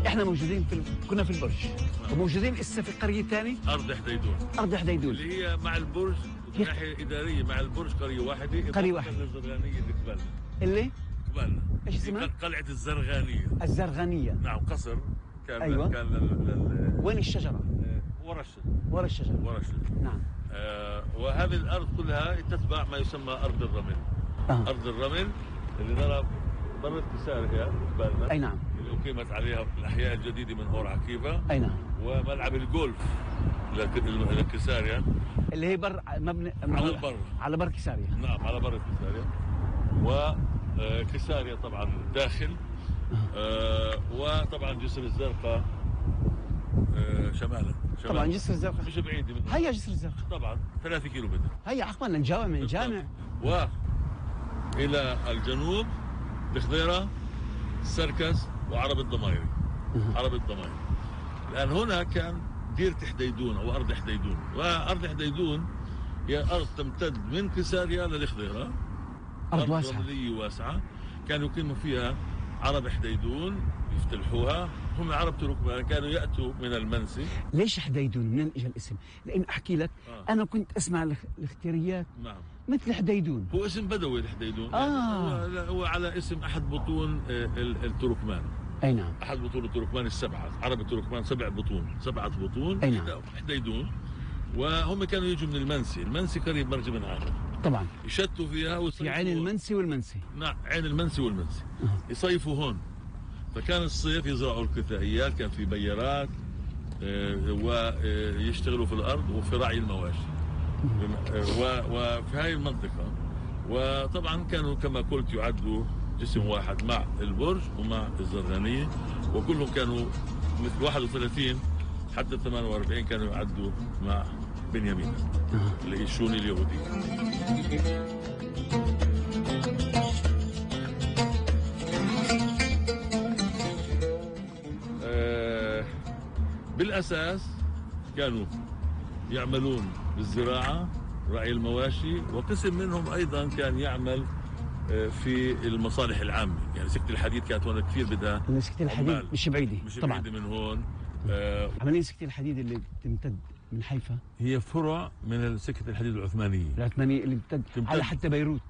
احنا موجودين كنا في البرج. وموجودين هسه في قريه ثانيه، ارض حديدون. ارض حديدون اللي هي مع البرج من ناحيه اداريه، مع البرج قريه واحده. قريه واحده الزرغانيه اللي قبالنا. اللي قبالنا ايش اسمها؟ قلعه الزرغانيه. الزرغانيه. نعم، قصر كان. أيوة. كان وين الشجره؟ ورا الشجره. ورا الشجره. ورا الشجره. نعم. وهذه الارض كلها تتبع ما يسمى ارض الرمل. ارض الرمل اللي ضرب مرت كساريا قبالنا. اي نعم. اللي اقيمت عليها الاحياء الجديده من هور عكيفه. اي نعم. وملعب الجولف لكساريا اللي هي بر مبني على البر، على بر كساريا. نعم، على بر كساريا. وكساريا طبعا داخل. وطبعا جسر الزرقاء شمالا. طبعا جسر الزرقاء مش بعيد من هيا جسر الزرقاء طبعا 3 كيلومتر. هيا عقبالنا نجاوب من الجامع. والى الجنوب الخضيره، السركس، وعرب الضمايري. عرب الضمايري. الان هنا كان ديرة حديدون او ارض حديدون. وارض حديدون هي ارض تمتد من كساريا للخضيره. ارض واسعه، رمليه واسعه. كانوا يقيموا فيها عرب حديدون، يفتلحوها. هم عرب تركمان، كانوا ياتوا من المنسي. ليش حديدون؟ منين اجى الاسم؟ لان احكي لك انا كنت اسمع الاختياريات. نعم. مثل حديدون. هو اسم بدوي الحديدون. هو على اسم احد بطون التركمان. اي نعم. احد بطون التركمان السبعه. عرب التركمان 7 بطون. 7 بطون. اي نعم. حديدون. وهم كانوا يجوا من المنسي. المنسي قريب مرج من هذا. طبعا. يشتوا فيها في عين المنسي والمنسي. نعم، عين المنسي والمنسي. يصيفوا هون. فكان الصيف يزرعوا الكثائيات، كان في بيارات، ويشتغلوا في الارض وفي رعي المواشي. وفي هاي المنطقه. وطبعا كانوا كما قلت يعدوا جسم واحد مع البرج ومع الزرغانيه. وكلهم كانوا مثل 31 حتى 48 كانوا يعدوا مع بنيامين اللي هي الشوني اليهودي. بالأساس كانوا يعملون بالزراعة، رعي المواشي، وقسم منهم أيضا كان يعمل في المصالح العامة. يعني سكة الحديد كانت هون كثير بدها. سكة الحديد مش بعيدة طبعا. بعيدة من هون. عملية سكة الحديد اللي تمتد من حيفا هي فرع من سكة الحديد العثمانية. اللي تمتد على حتى بيروت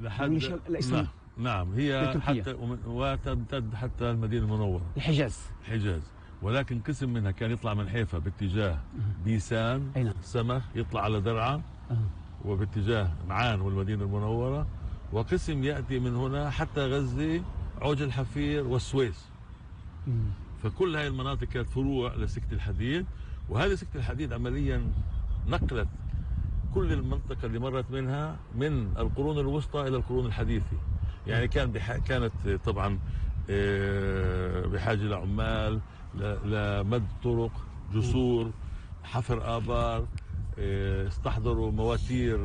لحد الإسلام. نعم، هي حتى وتمتد حتى المدينة المنورة، الحجاز. ولكن قسم منها كان يطلع من حيفا باتجاه بيسان، سمخ، يطلع على درعا، وباتجاه معان والمدينة المنورة. وقسم يأتي من هنا حتى غزة، عوج الحفير والسويس. فكل هاي المناطق كانت فروع لسكة الحديد. وهذه سكة الحديد عمليا نقلت كل المنطقة اللي مرت منها من القرون الوسطى إلى القرون الحديثة. يعني كانت طبعا بحاجة لعمال، لمد طرق، جسور، حفر آبار، استحضروا مواتير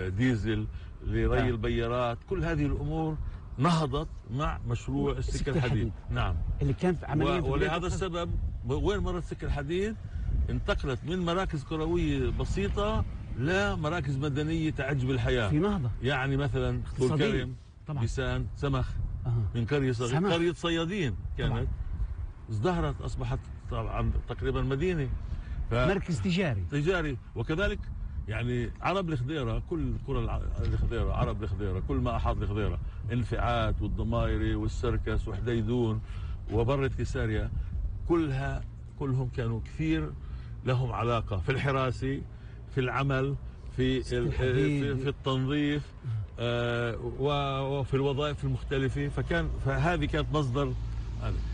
ديزل لري البيارات. كل هذه الأمور نهضت مع مشروع السكة الحديد. نعم، اللي كان عمليا. ولهذا السبب وين مرت السكة الحديد انتقلت من مراكز كروية بسيطة لمراكز مدنية تعج بالحياة في نهضة. يعني مثلا طول كرم، بيسان، سمخ. من قرية صغيرة، قرية صيادين كانت، ازدهرت، أصبحت طبعا تقريبا مدينة، مركز تجاري. وكذلك يعني عرب الخضيرة، كل قرى الخضيرة، عرب الخضيرة، كل ما أحاط الخضيرة، انفعات والضمايري والسركس وحديدون وبرة كساريا، كلهم كانوا كثير لهم علاقة في الحراسة، في العمل، في التنظيف، وفي الوظائف المختلفة. فهذه كانت مصدر.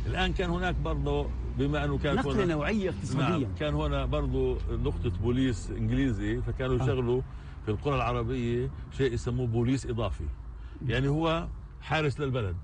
الآن كان هناك برضه، بما أنه كانت نقلة نوعية اقتصادية. نعم، كان هنا برضه نقطة بوليس إنجليزي. فكانوا يشغلوا في القرى العربية شيء يسموه بوليس إضافي. يعني هو حارس للبلد.